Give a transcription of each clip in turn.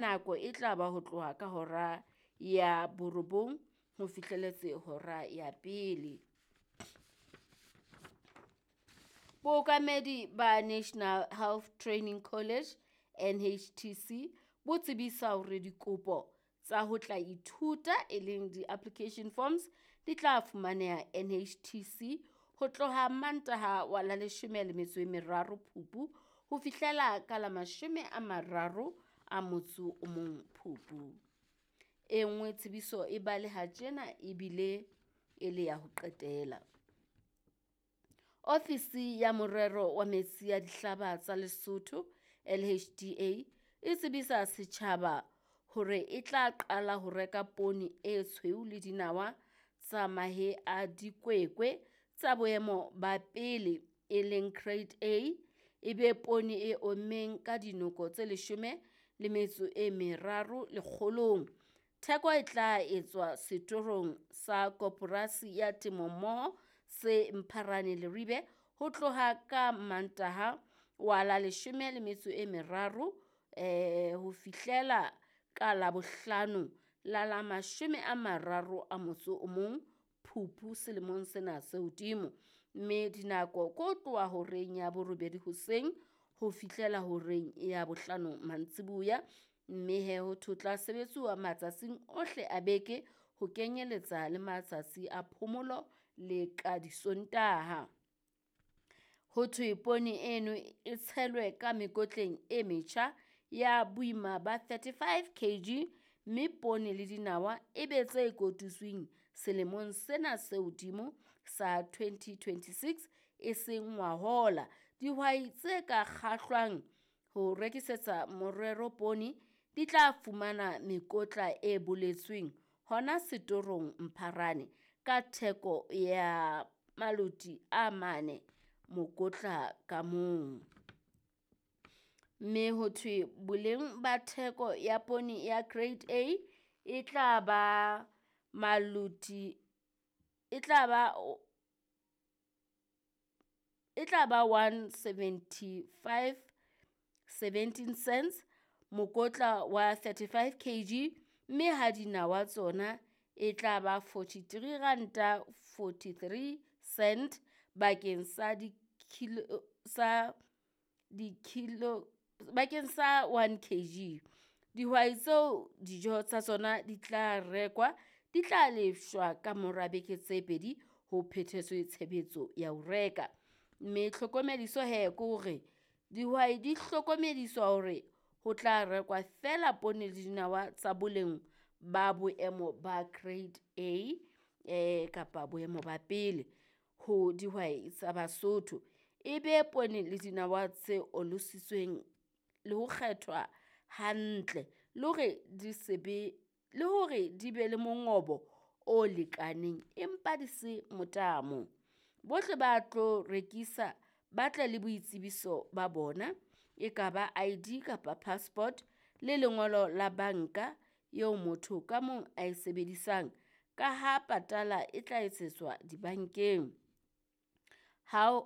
Nako e tla ba ho tloha ka hora ya borobong ho fihlelletse hora ya pele. Bookamedi ba National Health Training College, NHTC, bo tsebisa hore dikopo tsa ho tla ithuta e leng di-application forms di tla fumaneha NHTC ho tloha Mantaha wa la leshome le metso e meraro Phupu ho fihlela ka la mashome a mararo a motso o mong Phupu. E nngwe tsebiso e baleha tjena ebile e le ya ho qetela. Ofisi ya Morero wa Metsi a Dihlaba tsa Lesotho, LHDA, e tsebisa setjhaba hore e tla qala ho reka poone e tshweu le dinawa tsa mahe a dikwekwe tsa boemo ba pele e leng Grade A, e be poone e ommeng ka dinoko tse leshome le metso e meraro lekgolong. Theko e tla etswa setorong sa Koporasi ya Temo Mmoho se Mpharane Leribe ho tloha ka Mantaha wa la leshome le metso e meraro ho fihlela ka Labohlano la la mashome a mararo a motso o mong Phupu selemong sena se hodimo. Mme dinako ke ho tloha horeng ya borobedi hoseng ho fihlela horeng ya bohlano mantsiboya. Mme he ho thwe ho tla sebetsuwa matsatsing ohle a beke ho kenyeletsa le matsatsi a phomolo le ka disontaha. Ho thwe poone eno e tshelwe ka mekotleng e metjha ya boima ba 35 kg mme poone le dinawa e be tse kotutsweng selemong sena se hodimo sa 2026 e seng ngwahola. Dihwai tse ka kgahlwang ho rekisetsa morero poone di tla fumana mekotla e boletsweng hona setorong Mpharane ka theko ya maloti a mane mokotla ka mong. Mme ho thwe boleng ba theko ya poone ya Grade A e tla ba maloti e tla ba e tla ba 175 17 cents mokotla wa 35 kg mme ha dinawa tsona e tla ba 43 ranta 43 cent bakeng sa dikilo sa dikilo bakeng sa 1 kg. Dihwai tseo dijo tsa tsona di tla rekwa di tla lefshwa ka mora beke tse pedi ho phethetswe tshebetso ya ho reka. Mme tlhokomediso he ke hore dihwai di hlokomediswa hore ho tla rekwa feela poone le dinawa tsa boleng ba boemo ba Grade A kapa boemo ba pele ho dihwai tsa Basotho. E be poone le dinawa tse olositsweng le ho kgethwa hantle le hore di se be le hore di be le mongobo o lekaneng empa di se motamo. Bohle ba tlo rekisa ba tle le boitsebiso ba bona e ka ba ID kapa passport le lengolo la banka eo motho ka mong a e sebedisang ka ha patala e tla etsetswa dibankeng. Ha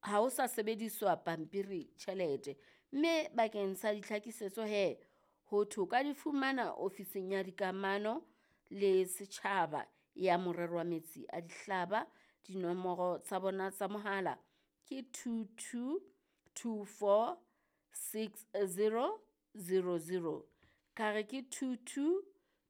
ho sa sebediswa pampiri tjhelete. Mme bakeng sa ditlhakisetso he ho thwe o ka di fumana ofising ya dikamano le setjhaba ya morero wa metsi a dihlaba. Dinomoro tsa bona tsa mohala ke 22 24 60 00. Ka re ke 22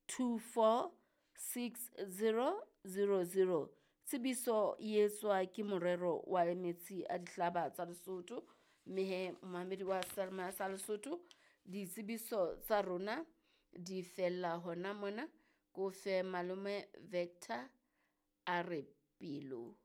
24 60 00. Tsebiso e etswa ke morero wa metsi a dihlaba tsa Lesotho. Mme he momamedi wa seyalemoya sa Lesotho ditsebiso tsa rona di fella hona mona. Ko fe malome Vector a re pelo.